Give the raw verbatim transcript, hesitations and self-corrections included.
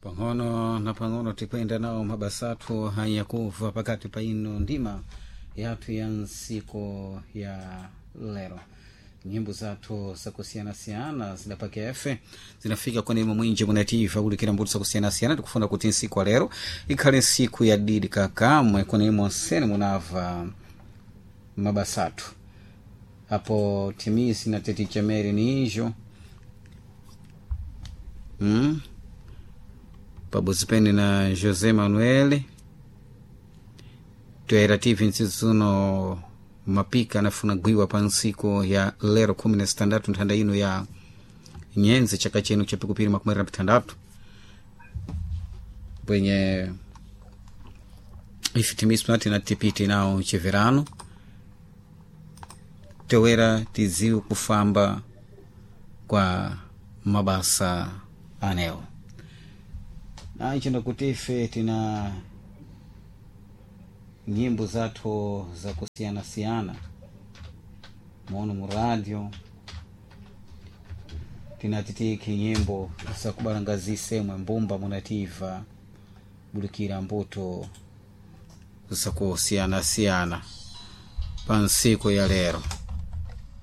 Pang'ono na pang'ono tikwenda nawo mabasa athu hayakuva pakati pa ino ndima yathu ya nsiku ya lero. Nyimbo zathu zakusiyanasiyana zidapaka efe zinafika kwenemo mwinji munativa kulikira mbuto zakusiyanasiyana. Tikufuna kuti nsiku wa lero ikhale nsiku ya didi kakamwe kwenemo nsene munava mabasa athu apo timisi na tetichameri niijo mm? Pabodzi pene na José Manuel toera T V ntsizuno mapika anafuna gwiwa pa ntsiku ya lero khumi na sitandatu nthanda ino ya nyenze chaka chino cha pikupiri makumi awiri na pitandatu pwenye ife timiswa tinatipiti nawo cheverano towera tidziwe kufamba kwa mabasa anewo na icho ndakuti ife tina nyimbo zathu zakusiyanasiyana mono mu radio tinatitiki nyimbo zakubalangazise mbumba munativa bulikira mbuto zakusiyanasiyana pa nsiku ya lero.